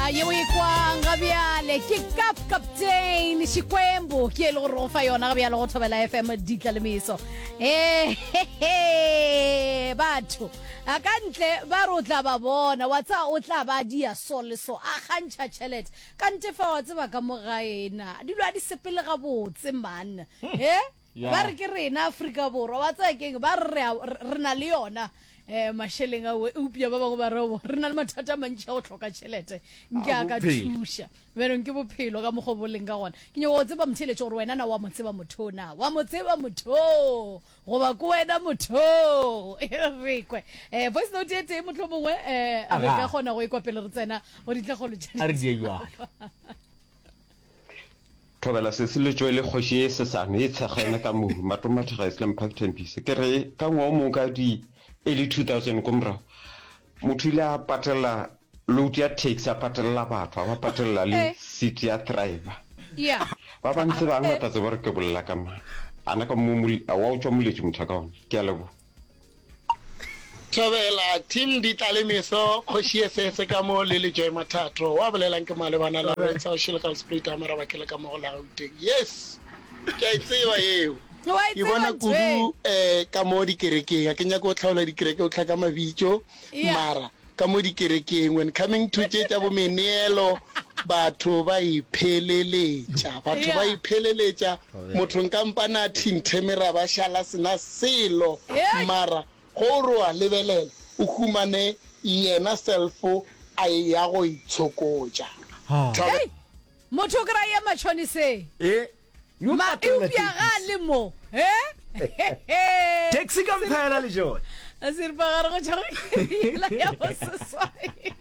A yeo e kwang ga bjale ke Kap Captain Xikwembu ke e le gore go fa yona ga bjale go Thobela FM ditla le meso. Eh batho a ka ntle ba re o tla ba bona wa tseba o tla ba dia so le so a kgantšha tšhelete ka nte fa wa tseba ka mo gae na dilo a di sepele gabotse man eh Ba re ke rena Afrika Borwa, wa tseba ke'ng, ba re re na le yona um mašeleng ao, eupša ba bangwe ba re re na le mathata a mantši a go hloka tšhelete, nke a ka thuša. Bjanong ke bophelo ka mokgwa bo leng ka gona. Ke nyaka go tseba motheeletši gore wena na wa mo tseba motho na? Wa mo tseba motho goba ke wena motho? E re kwe. Um voice note e tee mohlomongwe um re ka kgona go e kwa pele re tsena go ditlhakgolo tša A re die bjalo. Thobela sesi le tšwele kgoši ye sesane e tshegene ka mohu Matomathega Islam Park Tembisa. Ke re ka ngwaga o mongwe ka di early 2000 ko morago motho ile a patela load ya taxi a patelela batho a ba patelela le seat ya driver. Yeah. Ba ba ntsebang ba tla tseba gore ke bolela ka mang. Ana ka mo wa o tšwa moletši motho a ka gona. Ke a leboga. Thobela team di tla le meso kgoši ye sese ka mo le le Joy Mathatho wa bolelang ke malebana Lawrence wa Shilgalspruit a maraba ke le ka mo go la Gauteng yes ke a e tseba yeo Wa e ke bona tseba ntho kudu e. eh ka mo dikerekeng a ke nyake go hlaola dikereke o tlhaka mabitso Yeah. mara ka mo dikerekeng when coming to tše tša bo meneelo batho ba ipheleletša batho ba Yeah. ipheleletša motho nka mpana a thinthe meraba šala sena selo Hey. mara go o re wa lebelela o humane yena self a eya go itshokotša Thobela. Hey. Motho o kry-a matšhoniseng. E, yo Ma patella eupša ga a taxi. le mo. He? Taxi ka mphela le jone. Seripagare go tšwa go iri ya boseswai.